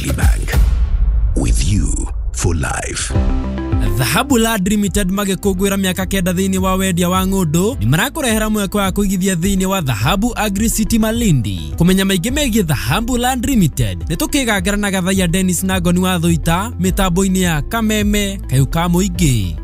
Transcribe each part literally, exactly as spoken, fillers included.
Stanley Bank. With you for life. Dhahabu Land Limited magĩkũngũĩra mĩaka kenda thĩinĩ wa wendia wa ng'ũndũ nĩ marakũrehera mweke wa kũigithia thĩinĩ wa Dhahabu Agri City Malindi. Kũmenya maingĩ megiĩ Dhahabu Land Limited nĩ tũkĩgangara na Gathaiya Dennis na Ngoni wa Thũita mĩtambo-inĩ ya Kameme Kayũ ka Mũingĩ.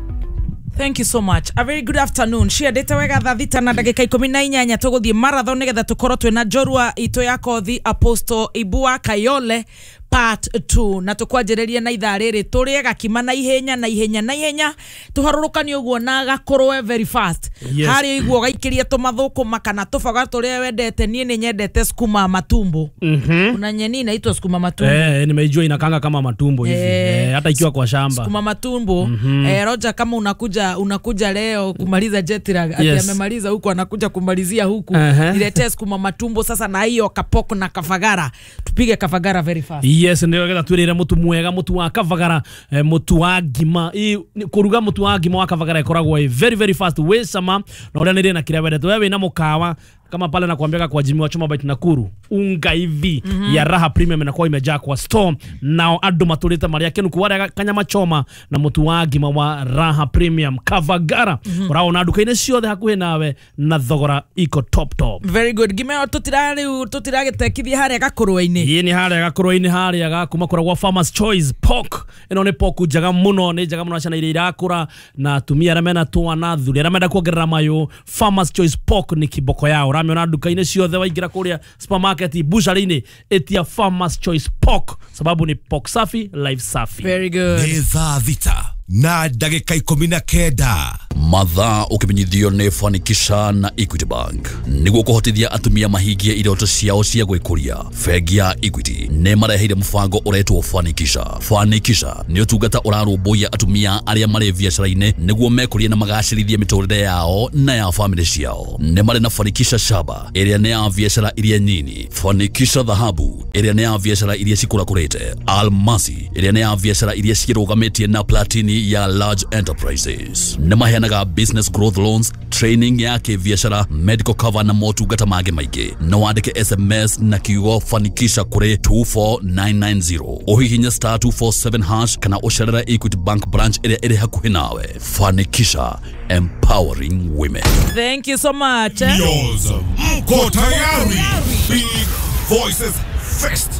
Thank you so much. A very good afternoon. Ciendete wega thaa thita na ndagĩka ikũmi na inyanya tũgũthiĩ marathon nĩgetha tũkorwo twĩna njorua itũ ya kothi Apostle Ibua Kayole part two na tũkwanjĩrĩria na ithaa rĩrĩ tũrĩe gakima na ihenya na ihenya na ihenya tũharũrũkanie ũguo na gakũrwe very fast. Yes. Harĩa iguo gaikĩrie tũmathũkũma kana tũboga tũrĩa wendete. Niĩ nĩ nyendete sukuma matumbo. Mhm. Kuna nyeni inaitwa sukuma matumbo. Eh, nimeijua inakanga kama matumbo hivi. Eh, Eh, hata ikiwa kwa shamba. Sukuma matumbo. Eh, Roger, kama unakuja unakuja leo kumaliza jet lag ati Yes. amemaliza huku anakuja kumalizia huku, Uh-huh. niletee sukuma matumbo sasa na hiyo kapoko na kafagara, tupige kafagara very fast. Yes, ndio getha twirire mutu mwega, mutu wa kavagara, eh, mutu wa ngima. I kuruga mutu wa ngima wa kavagara ikoragwo i very very fast, wi cama na uria nire na kiria wendete we wina mukawa kama pale na kuambiaga kwa Jimmy wa Choma Bite Nakuru, unga hivi mm -hmm. ya Raha Premium inakuwa imejaa kwa store, nao andu maturite maria kenu kuwaria kanyama choma na mutu wa ngima wa Raha Premium Kavagara mm -hmm. uraona nduka-inĩ ciothe hakuhĩ nawe na thogora iko top top. Very good. Ngima ĩyo tũtira rĩu tũtiragĩtekithia harĩa gakũrwe-inĩ. Ĩĩ, nĩ harĩa gakũrwe-inĩ, harĩa ga kuma kũrĩa gwa Farmers Choice Pork. Ĩno nĩ pork njega mũno, nĩ njega mũno ciana iria irakũra na atumia arĩa mena twana, athuri arĩa menda kuongerera mayũ. Farmers Choice Pork nĩ kiboko yao. Ũramĩona nduka-inĩ ciothe, waingĩra kũrĩa supermarket, butchery-inĩ, ĩtia Farmers Choice Pork sababu ni pork safi, life safi. Very good. Nĩ thaa thita na ndagĩka ikũmi na kenda. Mathaa ũkĩmenyithio nĩ Fanikisha na Equity Bank. Nĩguo kũhotithia atumia mahingie iroto ciao cia gwĩkũria, bengi ya Equity nĩ mareheire mũbango ũretwo Fanikisha. Fanikisha nĩ ũtungata ũrarũmbũiya atumia arĩa marĩ biacara-inĩ nĩguo mekũrie na magacĩrithie mĩtũrĩre yao na ya famĩlĩ ciao. Nĩ marĩ na Fanikisha Shaba ĩrĩa nĩ ya biacara iria nyini, Fanikisha Dhahabu ĩrĩa nĩ ya biacara iria cikũrakũrĩte, Almasi ĩrĩa nĩ ya biacara iria ciĩrũgamĩtie na Platini ya large enterprises. Nĩ maheanaga business growth loans, training ya kĩbiacara, medical cover na motungata mangĩ maingĩ. No wandĩke S M S na kiugo Fanikisha kũrĩ two four nine nine zero, ũhihinye star two four seven hash kana ũcerere Equity Bank branch ĩrĩa ĩrĩ hakuhĩ nawe. Fanikisha, empowering women. Thank you so much, eh? Yours. Mko tayari? Big Voices Fest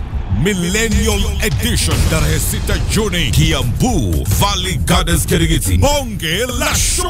Millennial Edition, tarehe sita Juni, Kiambu, Valley Gardens, Kirigiti. Bonge la show.